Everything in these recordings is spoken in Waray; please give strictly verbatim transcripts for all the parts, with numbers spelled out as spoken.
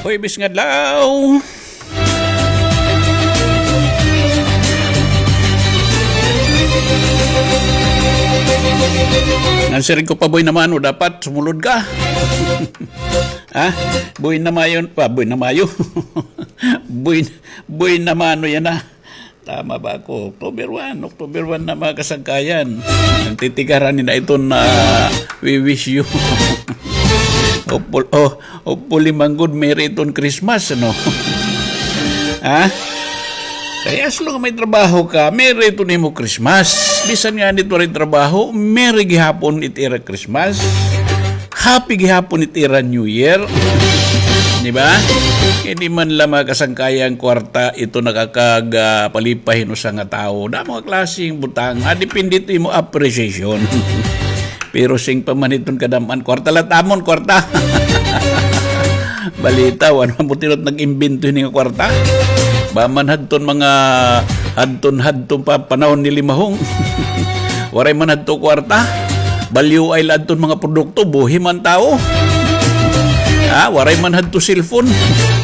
Huwebes nga adlaw. Ngan siring ko pa, Boy Namano, dapat sumulod ka. Ha? Boy Namayo, ah, Boy Namayo. Boy, Boy Namano yana. Tama ba ako? October one, October one na, mga kasangkayan. Nagtitigaran nina iton, ah, we wish you. Hopeful-, oh, hopefully man gud, merry iton Christmas, ano? Ha? Kay as long may trabaho ka, merry iton imo Christmas. Bisan ngani it waray trabaho, merry gihapon it ira Christmas. Happy gihapon it ira New Year. Di ba? Kay di man la, mga kasangkayan, kwarta ito nakakag-, ah, palipay hin usa nga tawo. Damo nga klase hin butang. Ah, depende ito imo appreciation. Pero sing pa man iton kadam-an, kwarta la it amon, kwarta. Balita, waray man butilot nag-imbento hini nga kwarta. Ba man hadton mga hadton-hadton pa panahon ni Limahong. Waray man hadto kwarta. Balyo ay la adton mga produkto, buhi man tawo. Ha, waray man hadto cellphone.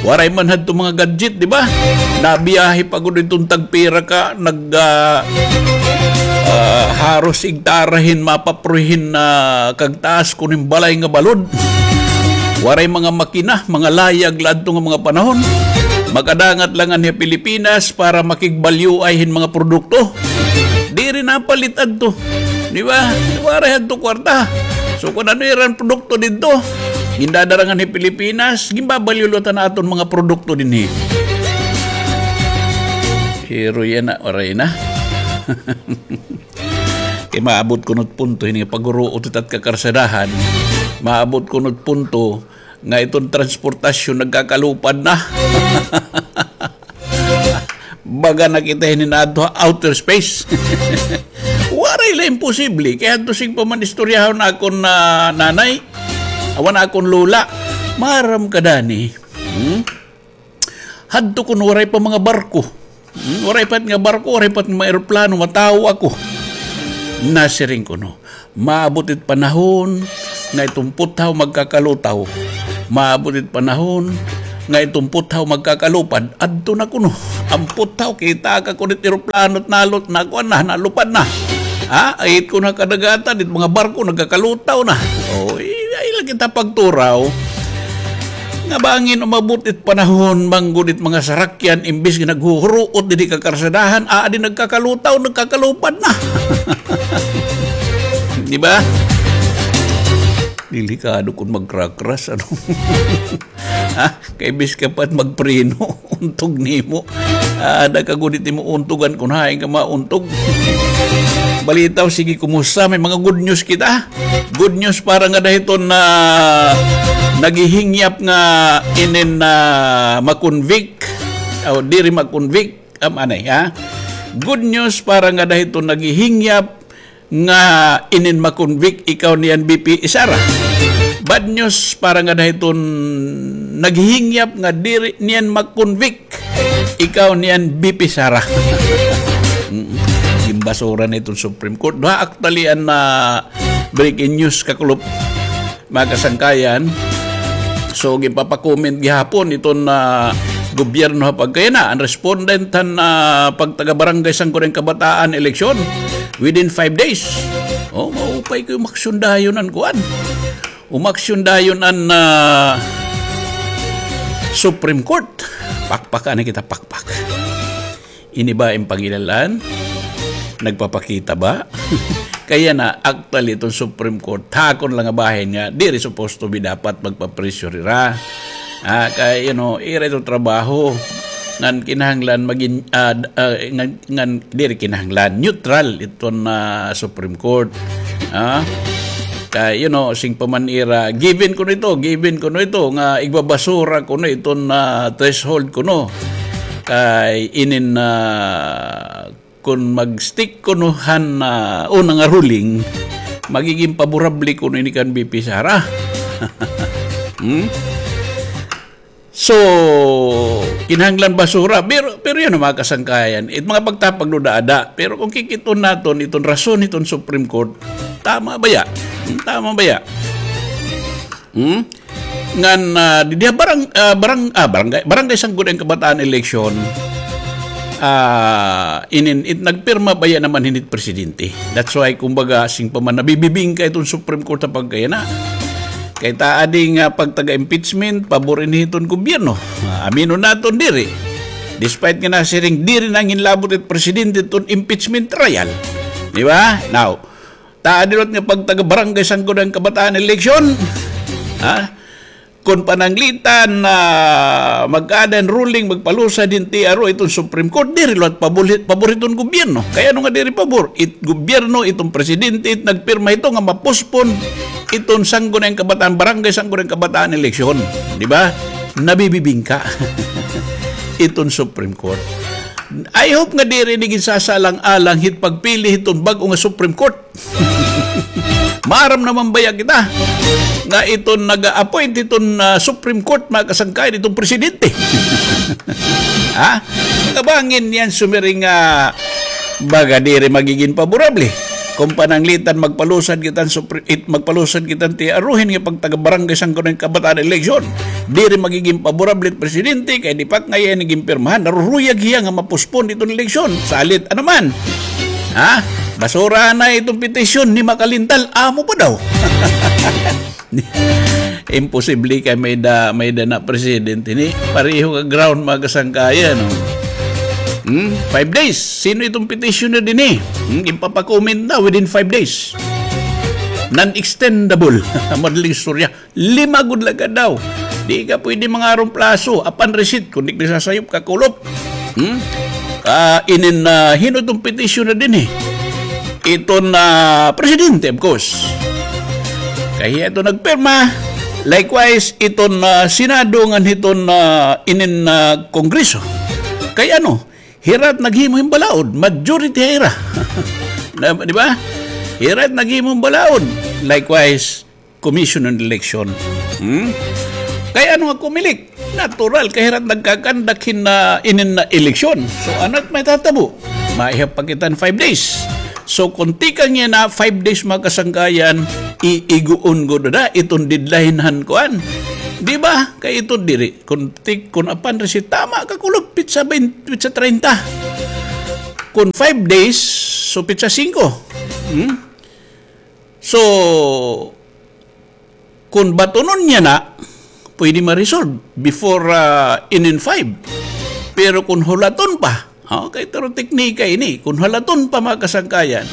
Waray man hadto mga gadget, di ba? Nabiyahe pa gud iton tagpira ka, nag, ah, ah, haros igtara hin mapapruhin na kagtaas kuno hin balay nga balod. Waray mga makina, mga layag la adto nga mga panahon. Makadangat la nganhi ha Pilipinas para makigbalyoay hin mga produkto. Diri napalit adto. Di ba? Waray hadto kwarta. So, kun ano iran produkto didto, gindadara nganhi Pilipinas, ginbabalyo la ta na aton mga produkto dinhi. Pero yana, waray na. Kay maabot kuno it punto, hini nga paghuruot it at kakarsadahan, maabot kuno it punto, nga iton transportasyon nagkakalupad na. Baga na kita hinin adto ha outer space. Waray la imposible. Kay hadto sing pa man istoryahon akon, ah, nanay, awan akon lola. Maaram ka, Dani. Hmm? Hadto kuno waray pa mga barko. Hmm, waray pa nga barko, waray pa nga mga eroplano, matawo ako. Nasiring kuno, maabot it panahon nga iton puthaw magkakalutaw. Maabot it panahon nga iton puthaw magkakalupad. Adto na kuno. An puthaw, kita ka kuno it eroplano, nalot na, kuan na, nalupad na. Ha? Ay, it kuno kadagatan, it mga barko nagkakalutaw na. O, ay, ay, la kita pagturaw. Nga bangin umabot it panahon, manggod it mga sarakyan, imbis nga naghuhuruot didi kakarsadahan, aadi nagkakalutaw, nagkakalupad na. Di ba? Delikado kun magkrakras, ano? Ha? Kay bis ka pa magpreno, untog nimo. Ada ka gud it imo untugan kun hain ka mauntog. Balitaw, sige, kumusta? May mga good news kita. Good news para ngada hiton na naghihingyap nga inin na ma-convict. O, diri ma-convict. Am, anay, ha? Good news para ngada hiton naghihingyap nga inin ma-convict, ikaw niyan B P Sara. Bad news para ngada hiton naghihingyap nga diri niyan ma-convict, ikaw niyan B P Sara. Mm. Ginbasura na iton Supreme Court. Duha actually an, ah, breaking news, kakulop, mga kasangkayan. So, ginpapakomment gihapon iton, ah, gobyerno ha pagkayana. An respondent han, ah, pagtaga-barangay Sangguniang Kabataan eleksyon within five days. O, maupay kay umaksyon dayon an kuan. Umaksyon dayon an, ah, Supreme Court. Pakpak, ano kita, pakpak. Ini ba an paghilalan? Nagpapakita ba? Kay yana, actually, iton Supreme Court, ha akon la nga bahin nga, diri supposed to be dapat magpa-pressure hira. Ah, kay, you know, ira iton trabaho. Ngan kinahanglan magin-, ah, d-, ah, ngan, ngan, diri kinahanglan. Neutral iton, ah, Supreme Court. Ah? Kay, you know, sing pa man ira, given kuno ito, given kuno ito, nga igbabasura kuno iton, ah, threshold kuno. Kay inin, ah, kun mag-stick kuno han, ah, una nga ruling, magiging paborable kuno ini kan B P Sara. Hmm? So, kinahanglan basura. Pero, pero yun, mga kasangkayan, it mga pagtapag no daada. Pero kung kikit-on naton, iton rason, iton Supreme Court, tama baya? Hmm, tama baya? Hmm? ngan, ah, didi ha barang-, ah, barang-, ah, barangay, barangay sangguniang kabataan election, ah, inin, it, nagpirma baya naman hini it presidente. That's why, kumbaga, sing pa man nabibibingka iton Supreme Court ha pagkayana. Kay ta adi nga pagtaga-impeachment, pabor ini hiton gobyerno. Ah, aminon naton diri. Despite nga nasiring diri nanginlabot it presidente iton impeachment trial. Di ba? Now, ta adi liwat nga pagtaga-barangay sangguniang kabataan election, ha? Kon pananglitan na mag-ada hin ruling, magpalusad hin T R O iton Supreme Court, diri liwat pabor, pabor hiton gobyerno. Kay ano nga diri pabor? It gobyerno, iton presidente, it nagpirma hito nga ma-postpone iton sangguniang kabataan, barangay sangguniang kabataan election. Di ba? Nabibibingka iton Supreme Court. I hope nga diri ini ginsasalang-alang hit pagpili hiton bag-o nga Supreme Court. Maaram naman baya kita nga iton naga-appoint hiton, ah, Supreme Court, mga kasangkayan, iton presidente. Ha? Kabangin niyan sumiring nga baga diri magigin paborable. Kon pananglitan magpalusad kita hin Supre-, it, magpalusad kita hin T R O hin nga pagtaga-barangay sangguniang kabataan election. Diri magigin paborable it presidente kay di pa ngay-an ini ginpirmahan. Naruruyag hiya nga ma-postpone iton eleksyon. Salit, ano man? Ha? Basura na iton petisyon ni Makalintal. Amo pa daw. Imposible kay may-ada, may-ada na presidente ini. Pareho ka ground, mga kasangkayan, no? Hmm? Five days. Sino iton petitioner dinhi? Hmm? Ginpapakomment na within five days. Non-extendable. Madaling istorya. Lima gud la gad daw. Di ka pwede mangaron plaso. Apan receipt, kun di ka nasasayop, kakulop. Hmm? Ah, inin, ah, hin-o iton petitioner dinhi? Iton, ah, presidente, of course. Kay hiya iton nagpirma. Likewise, iton, ah, Senado ngan hiton, ah, inin, ah, Kongreso. Kay ano, hira it naghimo hin balaod, majority hira. Na, di ba? Hira it naghimo hin balaod. Likewise, Commission on Election. Hmm? Kay ano nga Comelec? Natural, kay hira it nagkakandak hin, ah, inin na eleksyon. So, ano it mahitatabo? Maihap pa kita hin five days. So, kon tikang yana five days, mga kasangkayan, iiguon gud na iton deadline han kuan. Di ba? Kay ito diri. Kon tik-, kon apan receipt, tama ka, kulop, pitsa twenty, pitsa treinta. Kon five days, so pitsa singko. Hmm? So, kon batonon yana, pwede ma-resolve before, ah, inin five. Pero kon hulaton pa, oh, kay pero teknika ini, kon hulaton pa, mga kasangkayan,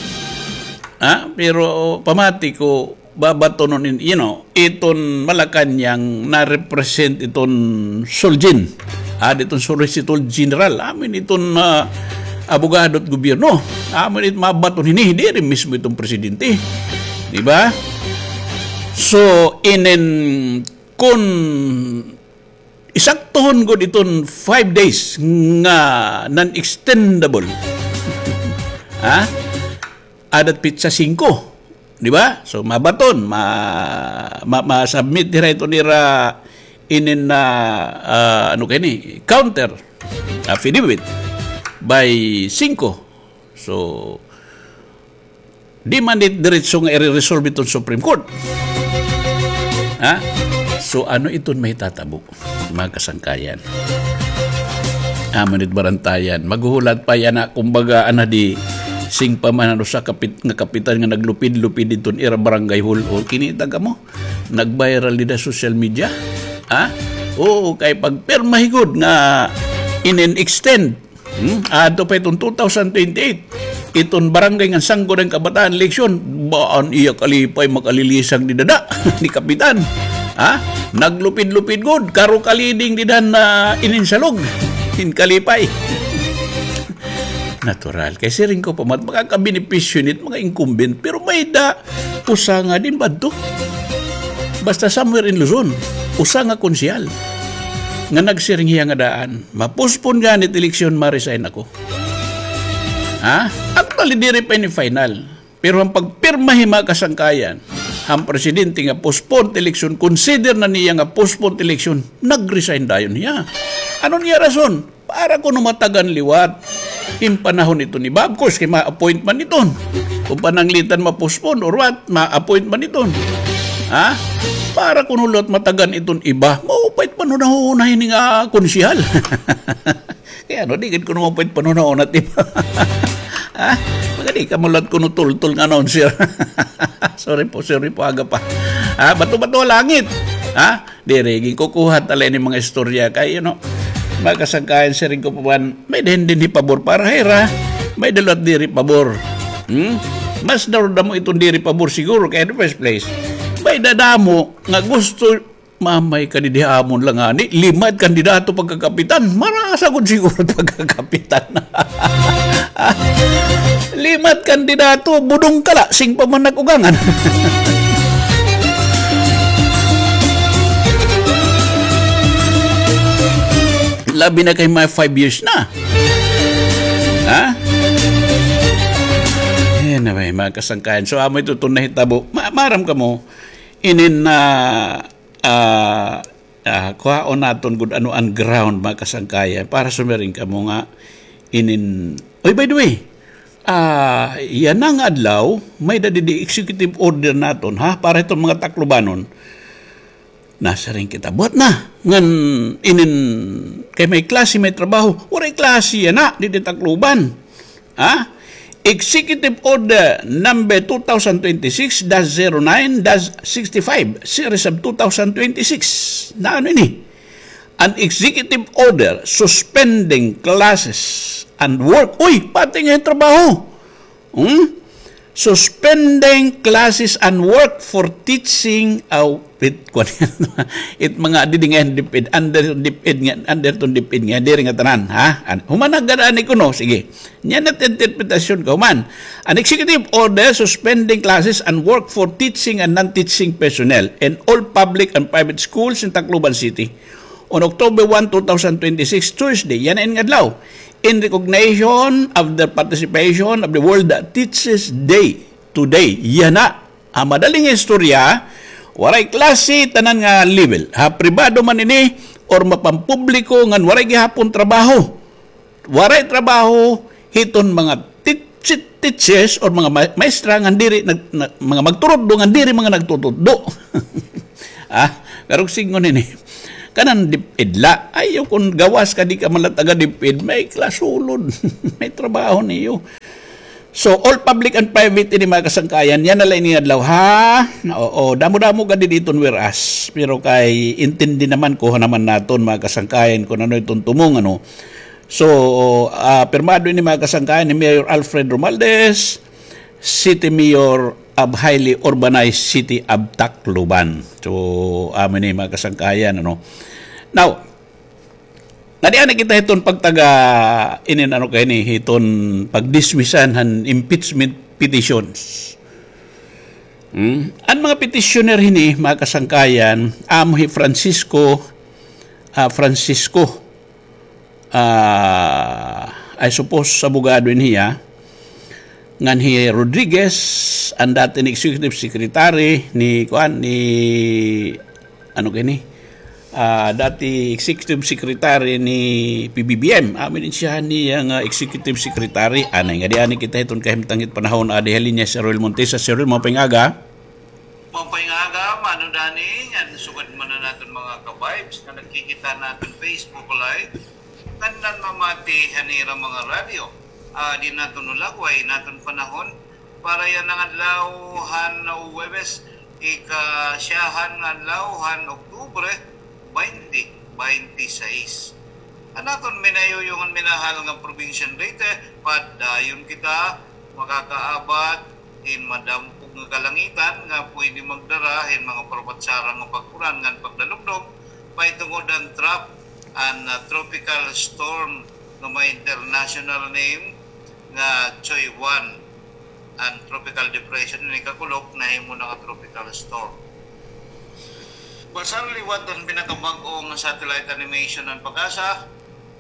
ha? Pero pamati ko, babatonon in, you know, iton Malacañang na-represent iton Solgen. Ah, diton Solicitor General. Amin iton, ah, abogado it gobyerno. Amin it mabaton hini, diri mismo iton presidente. Di ba? So, inin kun isaktohon gud iton five days nga non-extendable. Ha? Adat pitsa singko. Di ba? So, mabaton, ma-, ma-, ma-submit hira iton ira inin na, ah, ano kay ini? Counter affidavit by singko. So, di man it diretso nga ire-resolve iton Supreme Court. Ha? So, ano iton mahitatabo, mga kasangkayan? Amo nit barantayan. Maghuhulat pa yana, kumbaga, ana di, sing pa man an usa kapit-, nga kapitan nga naglupid-lupid iton ira barangay hall. O, kinita kamo? Nag-viral dida social media. Ha? Oo, kay pagpirma hi gud nga inin-extend Hmm? Adto pa iton two thousand twenty-eight. Iton barangay ngan sangguniang kabataan eleksyon, ba an iya kalipay makalilisang dida da ni kapitan. Ha? Naglupid-lupid gud, karo kaliding dida na ininsalog. In kalipay. Natural. Kay siring ko pa, mat-, makakabenepisyo nit mga incumbent. Pero may-ada usa nga din ba adto? Basta somewhere in Luzon, usa nga konsehal nga nagsiring hiya nga daan, ma-postpone gani it eleksyon, ma-resign ako. Ha? Actually, diri pa ini final. Pero an pagpirma hi mga kasangkayan, han presidente nga postpone eleksyon, consider na niya nga postpone eleksyon, nag-resign dayon hiya. Ano niya rason? Para kuno matagan liwat hin panahon iton iba. Of course, kay ma-appoint man iton. Kon pananglitan ma-postpone or what, ma-appoint man iton. Ha? Ara kuno liwat matagan iton iba. Maupay it panhunahuna hini nga konsehal. Kay ano, di gad kuno maupay it panhunahuna it iba. Ha? Magadi kamo liwat kuno tultol nga announcer. Sorry po, sorry po, aga pa. Ha? Bato-bato ha langit. Ha? Diri, ginkukuha ta la ini mga istorya kay, you know, mga kasangkayan, siring ko pa man, may-ada hin dinhi pabor para ha ira, may-ada liwat diri pabor. Hmm? Mas damo-damo iton diri pabor siguro kay in the first place. May-ada damo nga gusto, mamay ka didi ha amon la ngani, lima it kandidato pagkakapitan, marasa gud siguro pagkakapitan. Lima it kandidato, budong kala, sing pa man nag-ugangan. Labi na kay mga five years na. Ha? Anyway, mga kasangkayan. So, amo ito iton nahitabo. Ma-, maaram kamo, inin na, ah, ah, kuhaon naton gud ano an ground, mga kasangkayan, para sumiring kamo nga inin, oy, by the way, ah, yana nga adlaw, may-ada didi executive order naton, ha, para hiton mga Taclobanon. Nasiring kita, buhat na, ngan inin, kay may klase, may trabaho, waray klase yana didi Tacloban. Ha? Executive Order number two thousand twenty-six dash zero nine dash sixty-five, series of two thousand twenty-six. Na ano ini? An executive order suspending classes and work. Uy, pati nga trabaho. Hmm? Suspending classes and work for teaching, aw, it, kuwan, it mga didi nga DepEd, under DepEd nga, under iton DepEd nga, diri nga tanan, ha? An-, human na gad ani kuno, sige. Yana it interpretasyon ko man. An executive order suspending classes and work for teaching and non-teaching personnel in all public and private schools in Tacloban City on October one, two thousand twenty-six, Thursday, yana ini nga adlaw, in recognition of the participation of the World Teachers Day today. Yana, ha madaling istorya, waray klase tanan nga level. Ha pribado man ini or mapampubliko ngan waray gihapon trabaho. Waray trabaho hiton mga tit-, tit-, teachers or mga ma-, maestra ngan diri nag-, na-, mga magturutdo ngan diri mga nagtututdo. Ah, karuyag sidngon ini. Kanan DepEd la. Ayaw kon gawas ka di ka man la taga DepEd, may klasulod. May trabaho niyo. So, all public and private ini, mga kasangkayan, yana la ini nga adlaw, ha? Oo, damo-damo gad didi iton whereas. Pero kay intindi naman, kuha naman naton, mga kasangkayan, kon ano iton tumong, ano. So, ah, pirmado ini, mga kasangkayan, ni Mayor Alfred Romualdez, City Mayor of Highly Urbanized City of Tacloban. So, amo ini, mga kasangkayan, ano. Now, ngadi-ngadi kita hiton pagtaga inin ano kay ni, hiton pagdismisan han impeachment petitions. Hmm? An mga petitioner hini, mga kasangkayan, amo hi Francisco, ah, Francisco, ah, I suppose, abogado ini hiya, ngan hi Rodriguez, an dati ni executive secretary ni, kuan, ni, ano kay ni, ah, dati executive secretary ni P B B M. Amo ini siya niya nga executive secretary. Anay, ngadi-ngadi kita hiton kahimtang hit panahon, adi ha linya si Roel Montesa. Sir Roel, maupay nga aga. Maupay nga aga, Mano Dani, ngan sugad man an aton mga ka-vibes nga nagkikita han aton Facebook Live, ngan namamati han ira mga radyo. Ah, di naton ulagway an aton panahon para yana nga adlaw han Huwebes, ikasyahan nga adlaw han Oktubre, baynte baynte sais. An aton minayuyong ngan minahal nga probinsyang Leyte, padayon kita makakaabat hin madampog nga kalangitan nga pwede magdara hin mga parupat-sarang nga pag-uran ngan pagdalugdog, mahitungod han trough an, ah, tropical storm nga may international name nga Choy One. An tropical depression ini kakulop nahimo na nga tropical storm. Basta liwat an pinakabag-o nga satellite animation han PAGASA,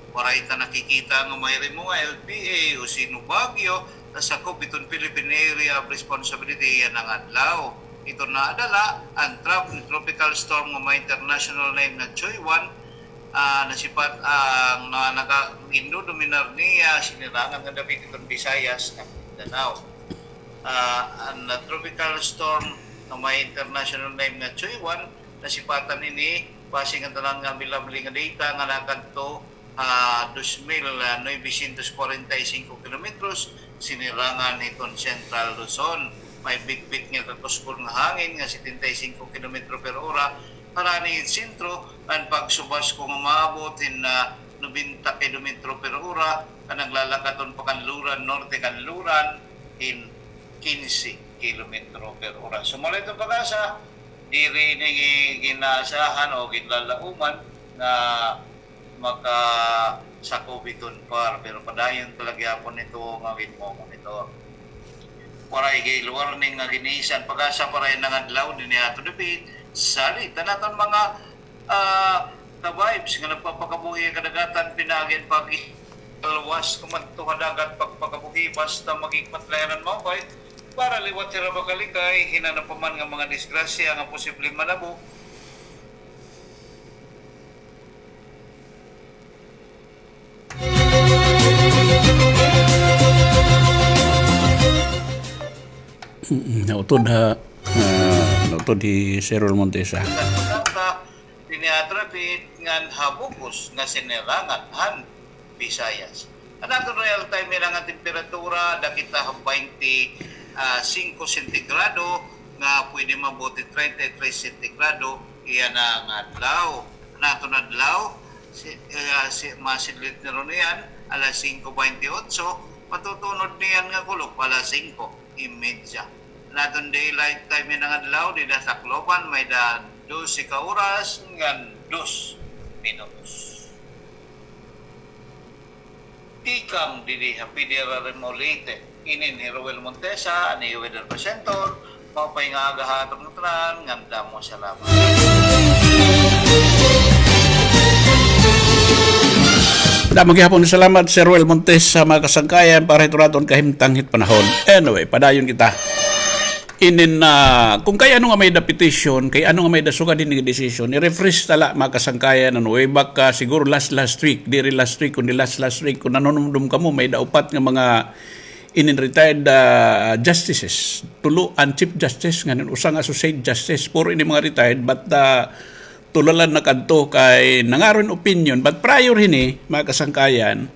waray ta nakikita nga mahirimo nga L P A o sino Baguio nga sakop hiton Philippine Area of Responsibility yana nga adlaw. Ito nadala an trough ni tropical storm nga may international name nga Choy One, ah, nasipat ang, ah, naka-, gindodominar niya, sinirangan nga dapit iton Visayas ngan Mindanao. Ah, an, ah, tropical storm nga may international name nga Choy One, Nasipatan ini, base nga tanan nga available nga data nga nakadto, ah, dos mil novecientos kwarenta y singko kilometros, sinirangan hiton Central Luzon. May bitbit nga kakuskol nga hangin nga setenta y singko kilometro per ora, harani it sentro, an pagsubas ko nga maabot hin, ah, nobenta kilometro per ora, an naglalakat on pakanluran, norte kanluran, hin kinse kilometro per ora. Sumala iton pag-asa, diri ini ginaasahan o ginlalauman nga makasakob iton PAR, pero padayon ta la gihapon ito nga ginmo-monitor. Waray gale warning nga gin-issue an pag-asa para ini nga adlaw dinhi ha aton dapit. Salit an aton mga, ah, ka-vibes nga nagpapakabuhi ha kadagatan, pinaagi an pag-, luwas kumadto ha dagat pagpakabuhi basta maghigpat la hira hin maupay para liwat hira makalikay hin ano pa man nga mga disgrasya nga posibleng manabo. Mm, nautod ha, ah, nautod hi Sir Roel Montesa. Dinhi ha aton dapit ngan ha bug-os nga sinirangan han Visayas. An aton real time hira nga temperatura, ada kita ha baynte singko sentigrado, nga pwede maabot hin treinta y tres sentigrado, iya na nga adlaw. An aton adlaw, si, ah, si, masidlit na ron iyan, alas singko baynte otso, matutunod niyan nga kulop, alas singko y media. An aton daylight time hira nga adlaw, dida ha Tacloban, may-ada dose ka oras ngan dos minutos. Tikang didi ha P D R R M O Leyte, inin hi Roel Montesa, an iyo weather presenter. Maupay nga aga ha aton ngatanan, ngan damo salamat. Damo gihapon salamat, Sir Roel Montesa, mga kasangkayan, para hiton aton kahimtang hit panahon. Anyway, padayon kita. Inin, ah, kon kay ano nga may-ada petition, kay ano nga may-ada sugad hini nga decision, i-refresh ta la, mga kasangkayan, ano, way back, ah, siguro last, last week, diri last week, kundi last, last week, kon nanunumdom kamo, may-ada upat nga mga inin retired, ah, justices. Tulo an Chief Justice, ngan usa nga Associate Justice, puro ini mga retired, but, ah, tulo la nakadto kay nangaro hin opinion, but prior hini, mga kasangkayan,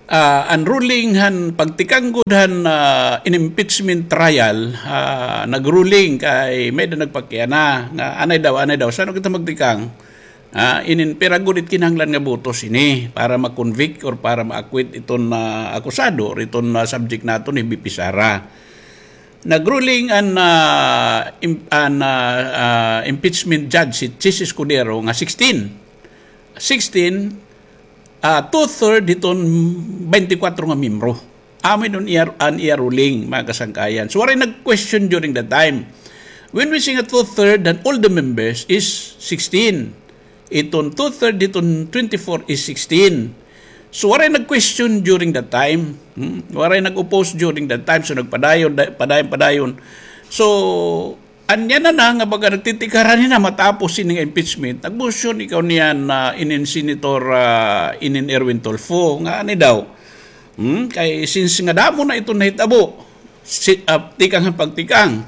ah, an ruling han pagtikang gud han, ah, in-impeachment trial, ah, nag-ruling kay may-ada nagpakiana nga anay daw, anay daw, san-o kita magtikang? Ah, inin pira gud it kinahanglan nga botos ini para ma-convict or para ma-acquit iton, ah, akusado or iton, ah, subject naton hi V P Sara. Nag-ruling an, ah, im-, an, ah, ah, impeachment judge si Chiz Escudero nga sixteen. Sixteen, ah, two-third hiton baynte kwatro nga miyembro. Amo ini an iya, an iya ruling, mga kasangkayan. So, waray nag-question during that time. When we say nga two-third, then all the members is sixteen. Iton two-third hiton twenty-four is sixteen. So, waray nag-question during that time. Hmm? Waray nag-oppose during that time. So, nagpadayon, da-, padayon, padayon. So, anya na na nga baga nagtitikaran hina matapos ini nga impeachment. Nag-motion ikaw niyan na inin Senator, ah, inin Erwin Tulfo, nga ani daw. Hmm? Kay since nga damo na iton nahitabo, si, ah, tikang han pagtikang.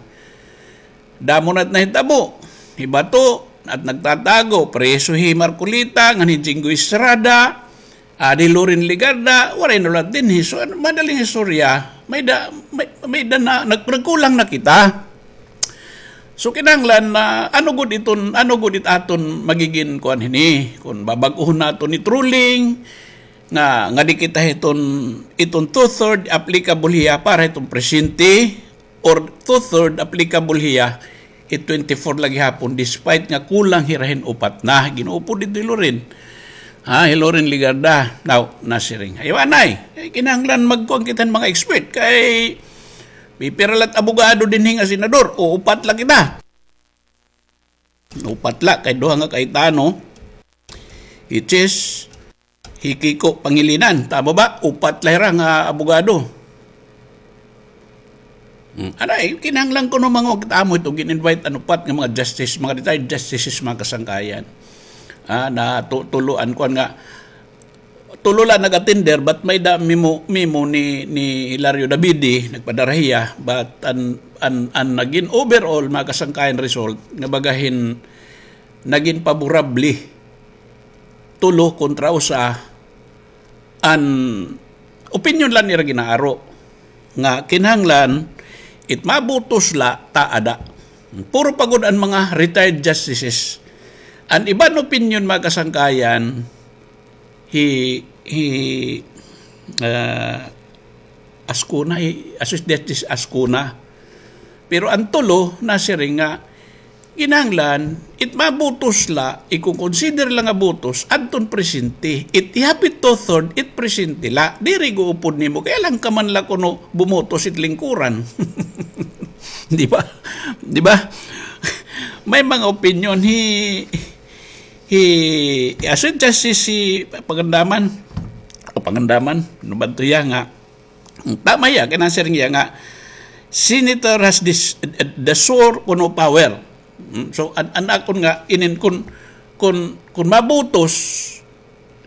Damo na it nahitabo. Hi Bato, at nagtatago, preso hi Marcoleta, ngan hi Jinggoy Estrada, ah, hi Loren Legarda, waray nahulat dinhi. So, ano, madaling istorya, may-ada, may, may-ada na, nag-, nagkulang na kita. So, kinahanglan na, ano gud iton, ano gud it aton magigin kuan hini, kon babag-ohon naton it ruling, nga, nga di kita hiton, iton two-third applicable hiya para hiton presente, or two-third applicable hiya, it twenty-four la gihapon, despite nga kulang hira hin upat na. Gin-upod didto hi Loren. Ha, hi Loren Legarda. Now, nasiring. Ayaw anay. Eh, kinahanglan magkuan kita hin mga expert. Kay, pipira la it abogado dinhi nga senador. O, upat la kita. Upat la, kay duha nga Cayetano. Which is, Hi Kiko Pangilinan, tama ba? Upat la hira nga abogado. Hmm. Anay, kinahanglan kuno mangog ta amo ito, gin-invite an upat nga mga justice, mga retired justices, mga kasangkayan. Ah, na tu-, tulo an kuan nga, tulo la nag-attender, but may-ada memo, memo ni, ni Hilario Davide, nagpadara hiya, but an, an, an nagin overall, mga kasangkayan, result, nga baga hin nagin paborable, tulo kontra usa, an opinyon la nira ginaaro nga kinahanglan it mabutos la ta ada. Puro pa gud an mga retired justices. An iban opinyon, mga kasangkayan, hi, hi, ah, Ascona, hi Associate Justice Ascona. Pero an tulo nasiring nga kinahanglan it mabutos la, iko-consider la nga butos adton presente. It ihapit two-third, it presente la. Diri guupod nimo kay alangan ka man la kuno bumutos it lingkuran. Di ba? Di ba? May mga opinyon hi, hi, hi Associate Justice, hi Pangandaman. O Pangandaman, ano ba ito iya nga? Tama iya, kay nasiring iya nga, senator has this, the sole kuno power. Mm, so, an, an akon nga, inin kun, kun, kun mabutos,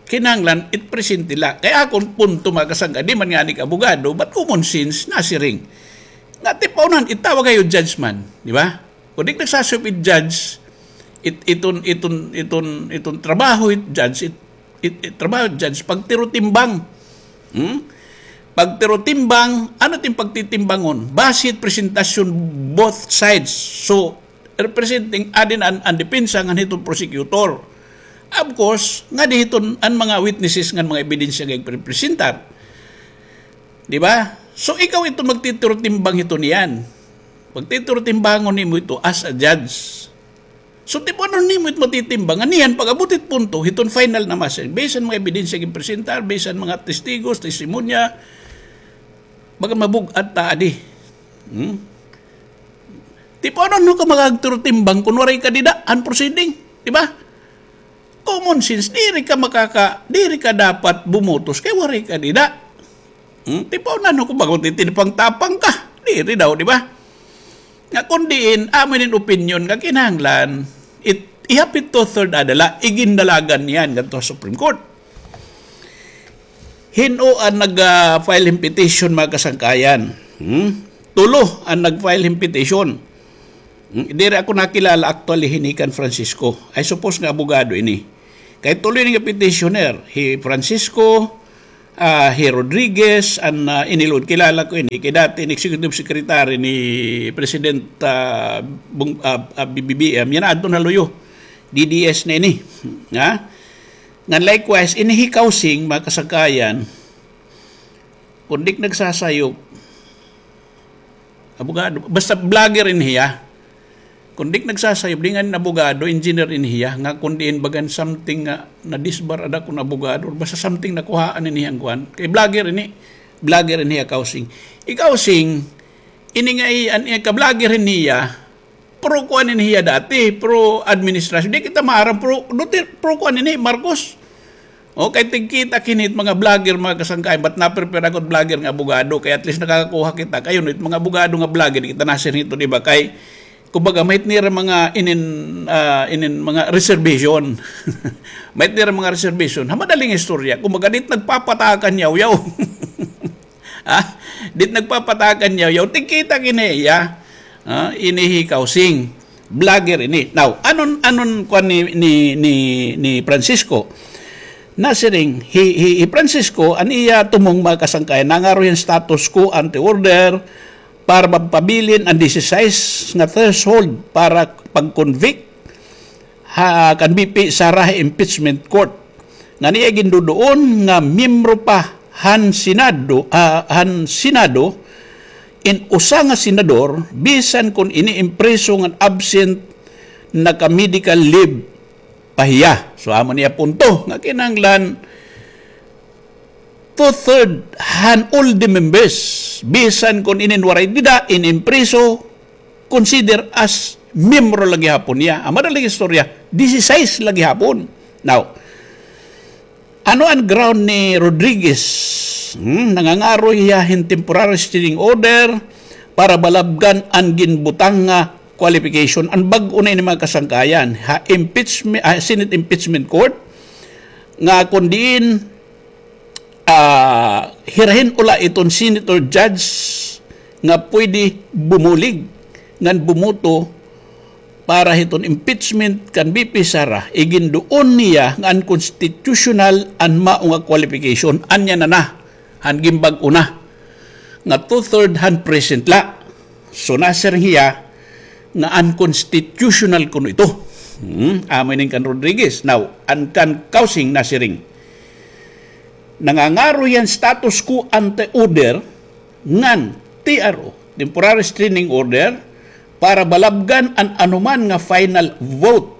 kinahanglan it presente la. Kay akon punto, mga kasangka, di man ngani ka abogado, but common sense, nasiring. Nga, tipawnan, itawag kayo judge man, di ba? Kun di nagsasayop it judge, it, iton, iton, iton, iton trabaho it judge, it, it, it trabaho it judge, pagtirotimbang. Hmm? Pagtirotimbang, ano it im pagtitimbangon? Base it presentasyon both sides. So, representing adin an, an depensa ngan hiton prosecutor. Of course, ngadi hiton an mga witnesses ngan mga ebidensya nga igprepresentar. Di ba? So, ikaw iton magtitirotimbang hiton iyan. Pagtitirotimbangon nimo ito as a judge. So, tipawon nimo it matitimbang. Ngan iyan, pag-abot it punto, hiton final na masay. Based han mga ebidensya nga igpresentar, based han mga testigos, testimonya, baga mabug-at ta adi. Hmm? Tipawon ka makagtirotimbang kun waray ka dida han proceeding. Di ba? Common sense, diri ka makaka, diri ka dapat bumutos kay waray ka dida. Hmm? Tipawon ko baga titinipang-tapang ka. Diri daw, di ba? Nga kun diin, amo inin opinyon nga kinahanglan, it, ihapit two-third ada la, igindalagan niyan ngadto ha Supreme Court. Hin-o an nag, ah, file hin petition, mga kasangkayan? Hmm? Tulo an nag-file hin petition. Hmm? Diri ako nakilala actually hini kan Francisco. I suppose nga abogado ini. Kay tulo ini nga petitioner, hi Francisco, ah, hi Rodriguez, an, ah, ini lugod, kilala ko ini, kay dati in executive secretary ni President, ah, Bong-, ah, ah, B B B M, yana adto na luyo, D D S na ini. Ha? Ngan likewise, ini hi Kausing, mga kasangkayan, kun di nagsasayop, abogado, basta vlogger ini hiya. Kun di nagsasayop, di ngani abogado, engineer ini hiya, nga kun diin bagan something nga nadisbar ada kun abogado, basta something nakuhaan ini hiya an kuan. Kay vlogger ini, vlogger ini hiya Kausing. Hi Kausing, ini nga i-, an, an ka-vlogger ini hiya, pro kuan ini hiya dati, pro administration. Di kita maaram, pro, Duter-, pro kuan ini, Marcos. O, kay tigkita kini it mga vlogger, mga kasangkayan, but na-prepare ako vlogger nga abogado, kay at least nakakakuha kita. Kay ano, it mga abogado nga vlogger, kita nasiring hito, di ba? Kay, kumbaga, may-ada nira mga inin, ah, inin mga reservation. May-ada nira mga reservation. Ha madaling istorya, kumbaga, di it nagpapatakan yawyaw. Ha? Di it nagpapatakan yawyaw. Tigkita kini hiya. Ha? Ini hi Kausing. Vlogger ini. Now, anon, anon kuan ni, ni, ni, ni Francisco? Nasiring, hi, hi, hi Francisco, an iya tumong, mga kasangkayan, nangaro hin status quo ante order para mapabilin an dise-sais nga threshold para pag-convict ha, kan B P Sara ha impeachment court. Ngan iya ginduduon nga miyembro pa han Senado, ah, han Senado, in usa nga senador, bisan kon ini impriso ngan absent, naka-medical leave pa hiya. So, amo niya punto nga kinahanglan two-third han all the members, bisan kon inin waray dida, inimpriso, consider as miyembro la gihapon niya. An madaling istorya, dise-sais la gihapon. Now, ano an ground ni Rodriguez? Hmm, nangangaro hiya hin temporary restraining order para balabgan an ginbutang nga qualification. An bag-o na ini, mga kasangkayan, ha impeachment, ha Senate Impeachment Court, nga kon diin ah, hira hin ula iton senator judge nga pwede bumulig ngan bumoto para hiton impeachment kan V P Sara, iginduon niya nga unconstitutional an mao nga qualification. Anya na na, han gimbag-o na, nga two-third han present la. So, nasiring hiya nga unconstitutional kuno ito. Hmm, amo ini kan Rodriguez. Now, an kan Causing nasiring, nangangaro hiya hin status quo ante order ngan T R O, temporary restraining order, para balabgan an anoman nga final vote,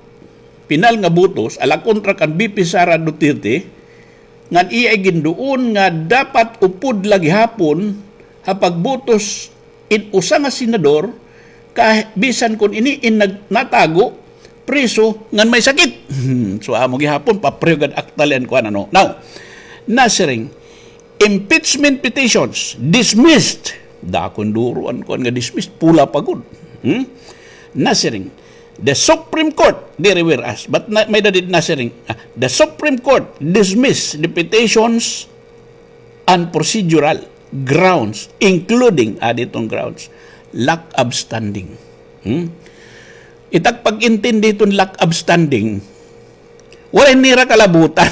pinal nga botos, ala kontra kan V P Sara Duterte, ngan iya iginduon nga dapat upod la gihapon ha pagbotos in usa nga senador, ka bisan kon ini in nag-, natago, priso, ngan may sakit. Hmm, so, amo gihapon, papreho gad akta la an kuan, ano. Now, nasiring, impeachment petitions, dismissed. Dako hin duro an kuan nga dismissed, pula pa gud. Hmm? Nasiring, the Supreme Court, diri whereas, but na, may-ada didi nasiring, ah, the Supreme Court dismissed the petitions on procedural grounds, including, ah, diton grounds, lack of standing. Hmm? It ak pag-intindi hiton lack of standing, waray nira kalabutan.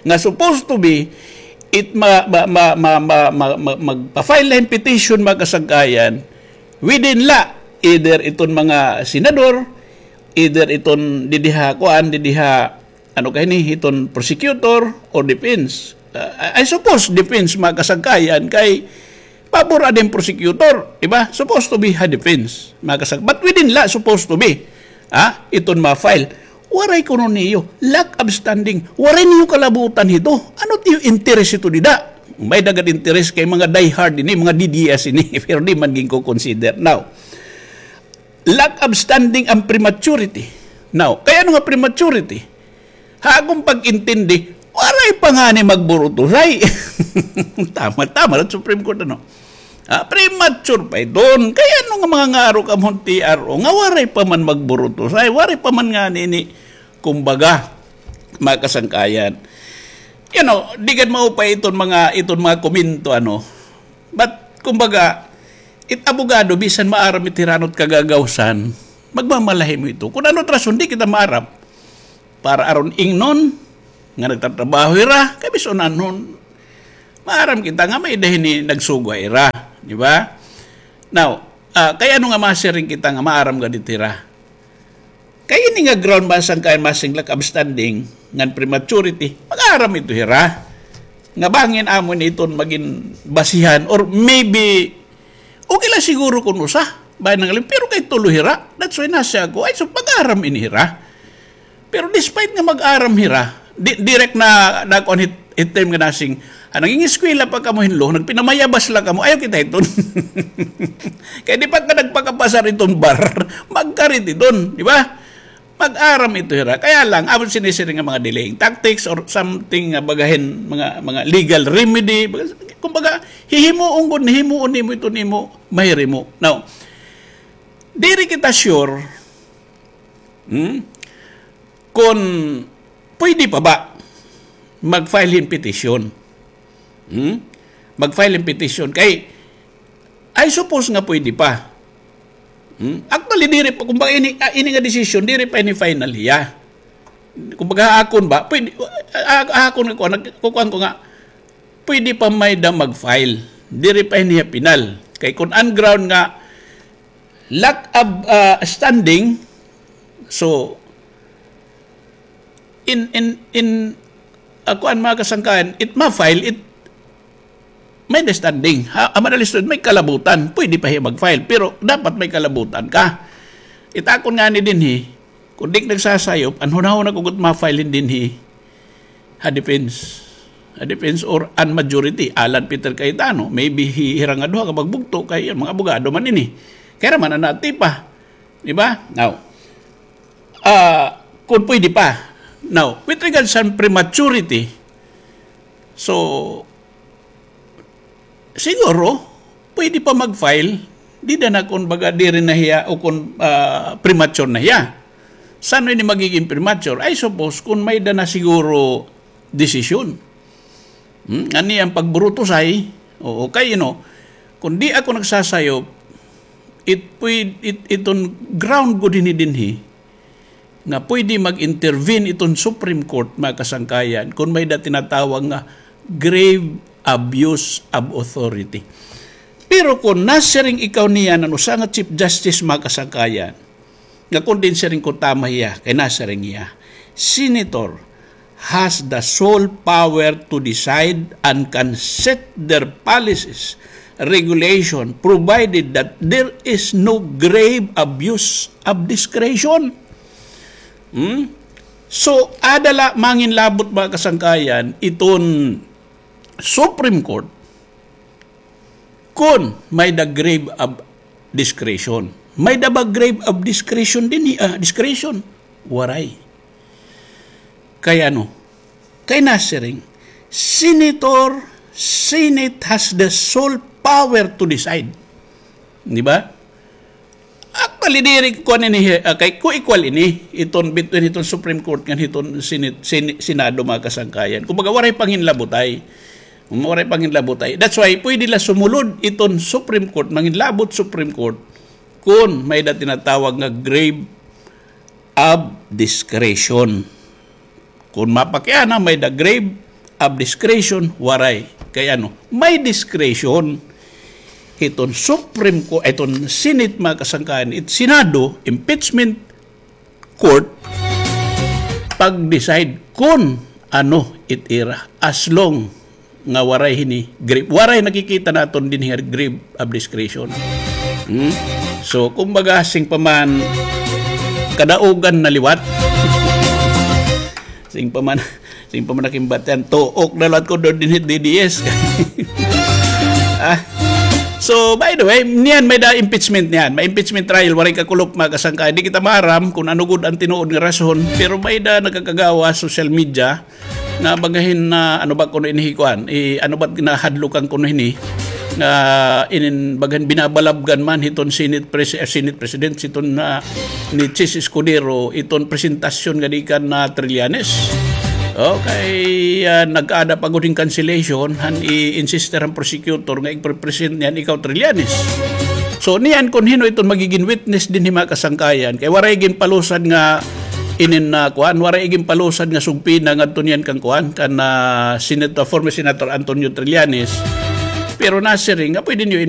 Nga supposed to be, it ma, ma, ma, ma, ma, ma, ma, magpa-file la hin petition, mga kasangkayan, within la, either iton mga senador, either iton didi ha, kuan, didi ha, ano kay ni, iton prosecutor or defense. Uh, I, I suppose defense, mga kasangkayan, kay pabor ada hin prosecutor, di ba? Supposed to be ha defense, mga kasang-, but within la, supposed to be, ha, iton ma-file. Waray kuno niyo, lack of standing. Waray niyo kalabutan hito. Ano it iyo interes hito dida? May-ada gad interes kay mga diehard ini, mga D D S ini, pero di man ginko-consider. Now, lack of standing and prematurity. Now, kay ano nga prematurity? Ha akon pag-intindi, waray pa ngani magburutosay. Tama, tama, la Supreme Court, ano? Ah, premature pa iton. Kay ano nga mangangaro kamo hin T R O nga waray pa man magburutosay, waray pa man ngani ini, kumbaga, mga kasangkayan. You know, di gad maupay iton mga, iton mga komento, ano? But, kumbaga, it abogado, bisan maaram it hira ano it kagagawsan, magmamalahi mo ito. Kon ano it rason, di kita maaram. Para aron ingnon nga nagtatrabaho hira, kay bisan anhon, maaram kita nga may-ada hini nagsugo ha ira, di ba? Now, ah, kay ano nga masiring kita nga maaram gad it hira? Kay ini nga ground, mga kasangkayan, masiring lack of standing ngan prematurity, mag-aram ito hira. Nga bangin amo ini iton magin basihan, or maybe, okay la siguro kon usa, bangin nangalim, pero kay tulo hira, that's why nasiring ako, ay, so mag-aram ini hira. Pero despite nga mag-aram hira, di, direk na, na kuan hit, hit term nga nasiring, ah, nanging-eskwela pa kamo hin law, nagpinamayabas la kamo, ayaw kita hiton. Kay di pa ka nagpakapasar iton bar, magkarit iton, di ba? Mag-aram ito hira. Kaya lang, amo sinisiring nga mga delaying tactics or something nga baga hin mga, mga legal remedy. Baga, kumbaga, hihimuon gud, himuon nimo ito nimo, mahirimo. Now, diri kita sure, hmm, kon pwede pa ba mag-file hin petition. Hmm? Mag-file hin petition. Kay, I suppose nga pwede pa. Hmm? Actually, diri pa, kumbaga, ini, ah, ini nga desisyon, diri pa ini final hiya. Kumbaga, ha akon ba, pwede, ah, ha akon nga kuan, nagkukuan ko nga, pwede pa may-ada mag-file. Diri pa ini hiya final. Kay kon an ground nga, lack of, ah, standing, so, in, in, in, ah, kuan, mga kasangkayan, it ma-file, it may-ada standing. Ha, an madalis tuod, may kalabutan. Pwede pa hiya mag-file, pero dapat may kalabutan ka. It akon ngani dinhi, kon di ka nagsasayop, an hunahuna ko gud ma-file hin dinhi ha defense. Ha defense or an majority, Alan Peter Cayetano. Maybe hi-, hira nga duha nga magbugto kay an mga abogado man ini. Kay hira man an natipa. Di ba? Now, ah, kon pwede pa. Now, with regards sa prematurity, so, siguro, pwede pa mag-file, dida na kon baga diri na hiya o kon, ah, premature na hiya. San-o ini magiging premature? I suppose, kon may-ada na siguro desisyon. Hmm? An iya pagburutosay, oo, kay, you know, kon di ako nagsasayop, it, pwed-, it, iton ground gud hini dinhi nga pwede mag-intervene iton Supreme Court, mga kasangkayan, kung may da tinatawag nga grave abuse of authority. Pero kung nasiring ikaw niyan, ano, usa nga Chief Justice, mga kasangkayan, nga kung din siring ko tama hiya, kay nasiring hiya, Senator has the sole power to decide and can set their policies, regulation, provided that there is no grave abuse of discretion. Hmm? So, ada la manginlabot, mga kasangkayan, iton Supreme Court, kun may da grave of discretion. May da ba grave of discretion dinhi, ah, discretion? Waray. Kay ano? Kay nasiring, Senator, Senate has the sole power to decide. Di ba? Actually, diri kuan ini, ah, kay ko equal ini, iton between iton Supreme Court ngan hiton Senate, Sen-, Senado, mga kasangkayan. Kumbaga, waray panginlabotay. Waray panginlabotay. That's why, pwede la sumulod iton Supreme Court, manginlabot Supreme Court, kun may da tinatawag nga grave of discretion. Kung mapakiana, may da grave of discretion, waray. Kay ano, may discretion hiton Supreme Court, iton Senate, mga kasangkayan, it Senado, impeachment court, pag-decide kun ano it ira, as long nga waray hini grave, waray nakikita naton dinhi nga grave of discretion. Hmm? So, kumbaga, sing pa man, kadaugan na liwat. Sing pa man, sing pa man nakimbatian, tuok na liwat ko doon dinhi D D S. Ah. So, by the way, niyan may da impeachment niyan. May impeachment trial, waray kakulop, mga kasangkay. Di kita maaram kung ano gud ang tinuod nga rason, pero may da nagkakagawa social media nga bagahin na, ano ba kuno ini kuan, i-, ano ba ginahadlokan kuno hini, nga inin bagahin binabalabgan man hiton Senate pres-, eh, Senate President, hiton na ni Chiz Escudero, iton presentasyon nga di kan na Trillanes. Okay, ah, nag-ada pa gud hin cancellation, han i-insister han prosecutor nga ig-present niyan ikaw Trillanes. So, niyan kun hino iton magigin witness dinhi, mga kasangkayan. Kay waray ginpalusad nga inin na kuan, waray ginpalusad nga sugpina ngadto niyan kan kuan, kan, ah, Senator, former Senator Antonio Trillanes. Pero nasiring nga pwede niyo